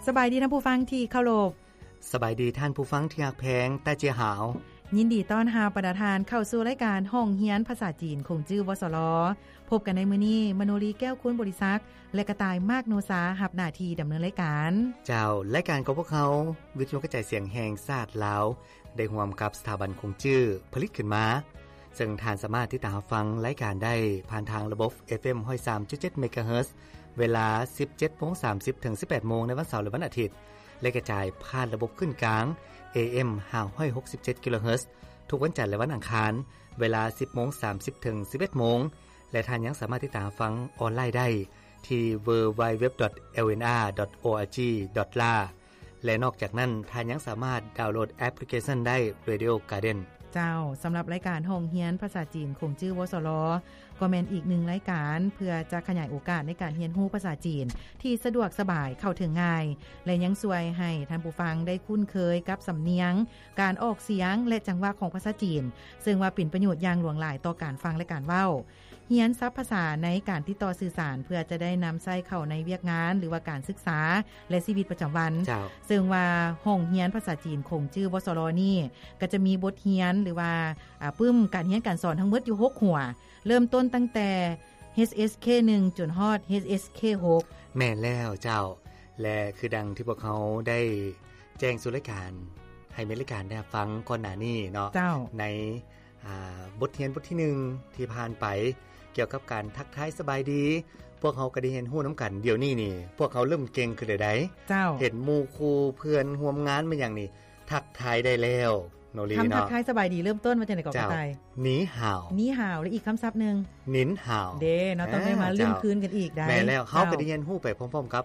ສະບາຍດີທ່ານຜູ້ຟັງທີ່ເຄົາລົບ. ສະບາຍດີທ່ານຜູ້ຟັງທີ່ຮັກແພງ. ຕາເຈຍຫາວ ຍິນດີຕ້ອນຮັບບັນດາທ່ານເຂົ້າສູ່ລາຍການຫ້ອງຮຽນພາສາຈີນຂົງຈື່ ວສລ. ພົບກັນໃນມື້ນີ້ ມະໂນລີ ແກ້ວຄູນບໍລິສັກ ແລະ ກະຕ່າຍ ມາກໂນຊາ ຮັບໜ້າທີ່ດຳເນີນລາຍການ. ເຈົ້າ, ລາຍການຂອງພວກເຮົາ ວິທະຍຸກະຈາຍສຽງແຫ່ງຊາດລາວ ໄດ້ຮ່ວມກັບສະຖາບັນຂົງຈື່ຜະລິດຂຶ້ນມາ, ເຊິ່ງທ່ານສາມາດຕິດຕາມຮັບຟັງລາຍການໄດ້ຜ່ານທາງລະບົບ ເອຟເອັມ ຮ້ອຍສາມຈຸດເຈັດ ເມກາເຮີດ ເວລາ ສິບເຈັດໂມງສາມສິບ ເຖິງ ສິບແປດໂມງ ໃນວັນເສົາ ແລະ ວັນອາທິດ ແລະ ກະຈາຍຜ່ານລະບົບຄື້ນກາງ ເອເອັມ ຫ້າຮ້ອຍຫົກສິບເຈັດ ກິໂລເຮີດ ທຸກວັນຈັນ ແລະ ວັນອັງຄານ ເວລາ ສິບໂມງສາມສິບ ເຖິງ ສິບເອັດໂມງ ແລະ ທ່ານຍັງສາມາດຕິດຕາມຮັບຟັງອອນລາຍໄດ້ທີ່ www.lnr.org.la ແລະ ນອກຈາກນັ້ນ ທ່ານຍັງສາມາດດາວໂຫຼດແອັບພລິເຄຊັນໄດ້ Radio Garden. ເຈົ້າ, ສຳລັບລາຍການຫ້ອງຮຽນພາສາຈີນຂົງຈື່ ວສລ ກໍແມ່ນອີກໜຶ່ງລາຍການ ເພື່ອຈະຂະຫຍາຍໂອກາດໃນການຮຽນຮູ້ພາສາຈີນທີ່ສະດວກສະບາຍ, ເຂົ້າເຖິງງ່າຍ ແລະ ຍັງຊ່ວຍໃຫ້ທ່ານຜູ້ຟັງໄດ້ຄຸ້ນເຄີຍກັບສຳນຽງ, ການອອກສຽງ ແລະ ຈັງຫວະຂອງພາສາຈີນ, ເຊິ່ງວ່າເປັນປະໂຫຍດຢ່າງຫຼວງຫຼາຍຕໍ່ການຟັງ ແລະ ການເວົ້າ. ຮຽນສັບພາສາໃນການຕິດຕໍ່ສື່ສານ ເພື່ອຈະໄດ້ນຳໃຊ້ເຂົ້າໃນວຽກງານ ຫຼືວ່າການສຶກສາ ແລະ ຊີວິດປະຈຳວັນ. ເຈົ້າ. ເຊິ່ງວ່າຫ້ອງຮຽນພາສາຈີນຂົງຈື່ ວສລ ນີ້ ກໍຈະມີບົດຮຽນ ຫຼືວ່າ ອາ ປຶ້ມການຮຽນການສອນທັງໝົດຢູ່ຫົກຫົວ, ເລີ່ມຕົ້ນຕັ້ງແຕ່ ເອັດເອັດສ ເຄ ໜຶ່ງ ຈົນຮອດ ເອັດເອັດສ ເຄ ຫົກ. ແມ່ນແລ້ວເຈົ້າ, ແລະ ຄືດັ່ງທີ່ພວກເຮົາໄດ້ແຈ້ງສູ່ລາຍການ ໃຫ້ແມ່ນລາຍການໄດ້ຮັບຟັງກ່ອນໜ້ານີ້ເນາະ. ເຈົ້າ. ໃນ ອ່າ ບົດຮຽນບົດທີໜຶ່ງທີ່ຜ່ານໄປ ກ່ຽວກັບການທັກທາຍສະບາຍດີ, ພວກເຮົາກໍໄດ້ຮຽນຮູ້ນຳກັນ. ດຽວນີ້ນີ້ ພວກເຮົາເລີ່ມເກັ່ງຂຶ້ນແລ້ວໃດ໋. ເຈົ້າ. ເຫັນໝູ່ຄູ່ເພື່ອນຮ່ວມງານມາຫຍັງນີ້ ທັກທາຍໄດ້ແລ້ວເນາະ ລີ ຄຳທັກທາຍສະບາຍດີເລີ່ມຕົ້ນວ່າຈັ່ງໃດກໍ ເຈົ້າ ກະຕ່າຍ? ໜີຫາວ. ໜີຫາວ ແລະ ອີກຄຳສັບໜຶ່ງ ໜິນຫາວ. ເດ້ເນາະ, ຕ້ອງໄດ້ມາ ອ່າ ເລີ່ມຄືນກັນອີກໄດ໋. ແມ່ນແລ້ວ, ເຈົ້າ. ເຮົາກໍໄດ້ຮຽນຮູ້ໄປພ້ອມໆກັບ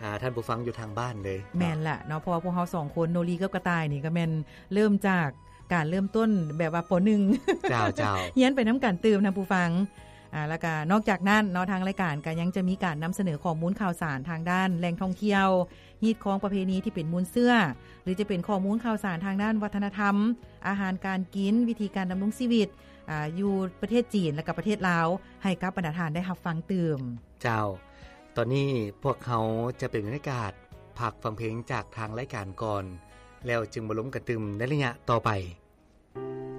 ອ່າ ທ່ານຜູ້ຟັງຢູ່ທາງບ້ານເລີຍ. ແມ່ນລະເນາະ, ເພາະວ່າພວກເຮົາສອງຄົນ ໂນລີກັບກະຕ່າຍນີ້ ກໍແມ່ນເລີ່ມຈາກການເລີ່ມຕົ້ນແບບວ່າ ປໍໜຶ່ງ. ເຈົ້າ, ເຈົ້າ. ຮຽນໄປນຳກັນຕື່ມນຳຜູ້ຟັງ. ອ່າ ແລ້ວກະນອກຈາກນັ້ນເນາະ, ທາງລາຍການກໍຍັງຈະມີການນຳສະເໜີຂໍ້ມູນຂ່າວສານທາງດ້ານແຫຼ່ງທ່ອງທ່ຽວ, ຮີດຄອງປະເພນີທີ່ເປັນມູນເຊື້ອ ຫຼື ຈະເປັນຂໍ້ມູນຂ່າວສານທາງດ້ານວັດທະນະທຳ, ອາຫານການກິນ, ວິທີການດຳລົງຊີວິດ ອາ ຢູ່ປະເທດຈີນ ແລະ ກະປະເທດລາວ ໃຫ້ກັບບັນດາທ່ານໄດ້ຮັບຟັງຕື່ມ. ເຈົ້າ. ຕອນນີ້ພວກເຮົາຈະເປັນບັນຍາກາດພັກຟັງເພງຈາກທາງລາຍການກ່ອນ, ແລ້ວຈຶ່ງມາລົມກັນຕື່ມໃນໄລຍະຕໍ່ໄປ.